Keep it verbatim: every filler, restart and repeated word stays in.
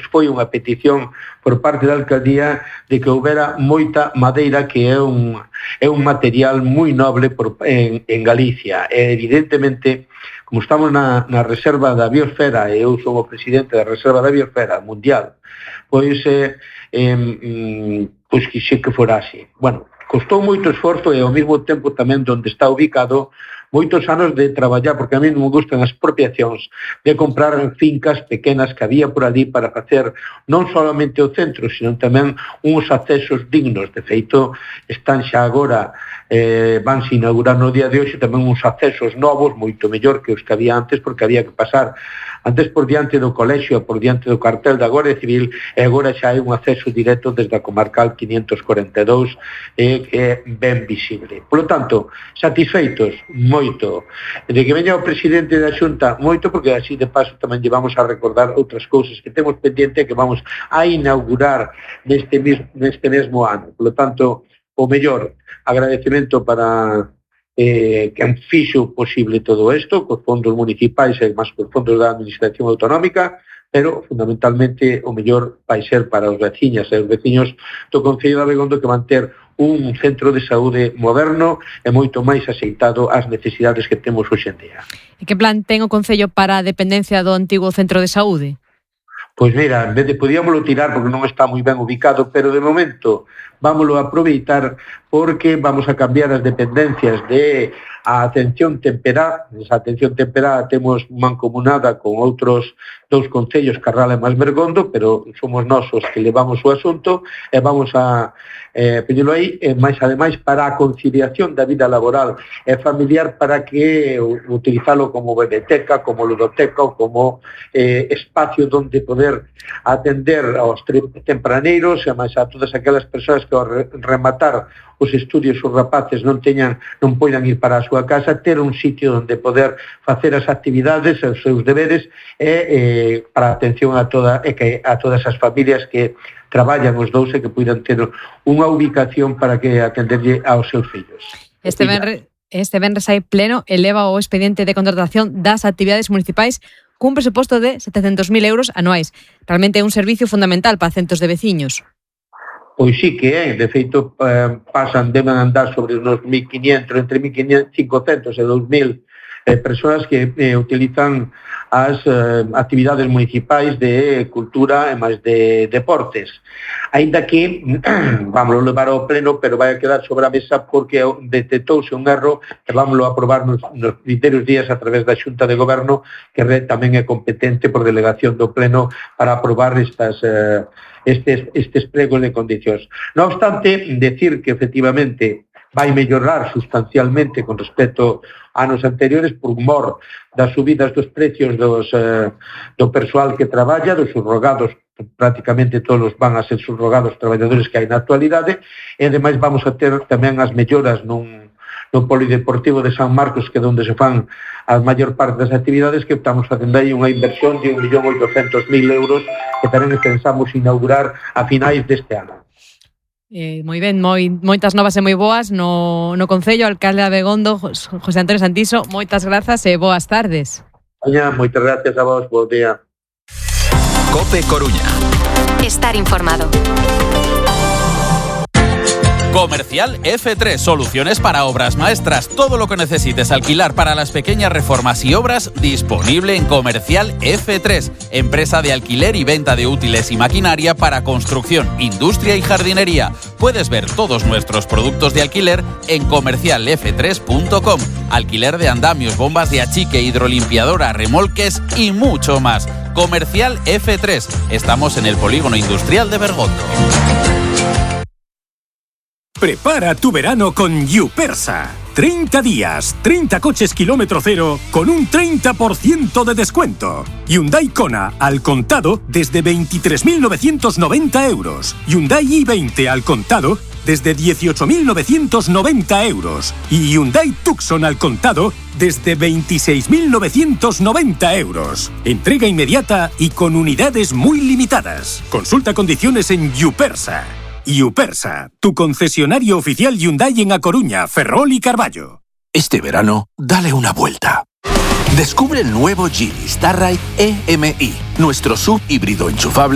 foi unha petición por parte da alcaldía de que houbera moita madeira, que é un, é un material moi noble por, en, en Galicia. E evidentemente, como estamos na, na reserva da biosfera, e eu sou o presidente da reserva da biosfera mundial, pois, eh, eh, pois que xe que fora así. Bueno, costou moito esforzo e ao mesmo tempo tamén onde está ubicado moitos anos de traballar, porque a mí non me gustan as expropiacións, de comprar fincas pequenas que había por ali para facer non solamente o centro, sino tamén uns accesos dignos. De feito, están xa agora, eh, vanse inaugurar no día de hoxe tamén uns accesos novos, moito mellor que os que había antes, porque había que pasar antes por diante do colexio, por diante do cartel da Guardia Civil, e agora xa hai un acceso directo desde a comarcal quinientos cuarenta e dous, eh, que é ben visible. Por lo tanto, satisfeitos, moito. De que veña o presidente da Xunta, moito, porque así de paso tamén llevamos a recordar outras cousas que temos pendiente que vamos a inaugurar neste, neste mesmo ano. Por lo tanto, o mellor agradecemento para eh, que han fixo posible todo isto, cos fondos municipais e máis cos fondos da Administración Autonómica, pero fundamentalmente o mellor vai ser para os veciñas e os veciños do Concello de Abegondo, que van ter un centro de saúde moderno e moito máis axeitado ás necesidades que temos hoxe en día. E que plan ten o Concello para a dependencia do antigo centro de saúde? Pois mira, en vez de podíamoslo tirar porque non está moi ben ubicado, pero de momento vámoslo a aproveitar porque vamos a cambiar as dependencias de a atención temperá. Esa atención temperá temos mancomunada con outros dous concellos, Carral e Masbergondo, pero somos nós os que levamos o asunto e vamos a eh, pedirlo aí, e máis ademais para a conciliación da vida laboral e familiar, para que utilizalo como biblioteca, como ludoteca ou como eh, espacio onde poder atender aos tempraneiros e máis a todas aquelas persoas que ao rematar os estudios os rapaces non teñan, non poidan ir para a súa casa, ter un sitio onde poder facer as actividades, os seus deberes e eh, para a atención a toda e que a todas as familias que traballan os dous e que poidan ter unha ubicación para que atenderlle aos seus fillos. Este venres, este venres hai pleno eleva o expediente de contratación das actividades municipais cun presuposto de setecentos mil euros anuais. Realmente é un servicio fundamental para centos de veciños. Pois sí que é, de feito eh, pasan, deben andar sobre uns mil quinientos, entre mil quinhentos e dous mil eh, persoas que eh, utilizan as eh, actividades municipais de cultura e máis de deportes. Ainda que, vamos a levar ao pleno, pero vai a quedar sobre a mesa porque detectouse un erro e vamos a aprobar nos, nos primeiros días a través da Xunta de Goberno, que tamén é competente por delegación do pleno para aprobar estas eh, estes, estes pregos de condicións. Non obstante, decir que efectivamente vai mellorar sustancialmente con respecto a anos anteriores por mor das subidas dos precios dos, eh, do persoal que traballa, dos subrogados, prácticamente todos van a ser subrogados traballadores que hai na actualidade, e ademais vamos a ter tamén as melloras nun, no polideportivo de San Marcos, que é onde se fan a maior parte das actividades, que estamos facendo aí unha inversión de un millón oitocentos mil euros que tamén pensamos inaugurar a finais deste ano. Eh, moi ben, moi, moitas novas e moi boas no, no Concello. Alcalde de Abegondo, José Antonio Santiso, moitas grazas e boas tardes. Oña, moitas gracias a vos, bo día. COPE Coruña. Estar informado. Comercial F tres, soluciones para obras maestras. Todo lo que necesites alquilar para las pequeñas reformas y obras, disponible en Comercial F tres, empresa de alquiler y venta de útiles y maquinaria para construcción, industria y jardinería. Puedes ver todos nuestros productos de alquiler en comercial f tres punto com. Alquiler de andamios, bombas de achique, hidrolimpiadora, remolques y mucho más. Comercial F tres. Estamos en el Polígono Industrial de Bergondo. Prepara tu verano con Yupersa. treinta días, treinta coches kilómetro cero con un treinta por ciento de descuento. Hyundai Kona al contado desde veintitrés mil novecientos noventa euros. Hyundai i veinte al contado desde dieciocho mil novecientos noventa euros. Y Hyundai Tucson al contado desde veintiséis mil novecientos noventa euros. Entrega inmediata y con unidades muy limitadas. Consulta condiciones en Yupersa. Yupersa, tu concesionario oficial Hyundai en A Coruña, Ferrol y Carballo. Este verano, dale una vuelta. Descubre el nuevo Geely Starride E M I, nuestro sub híbrido enchufable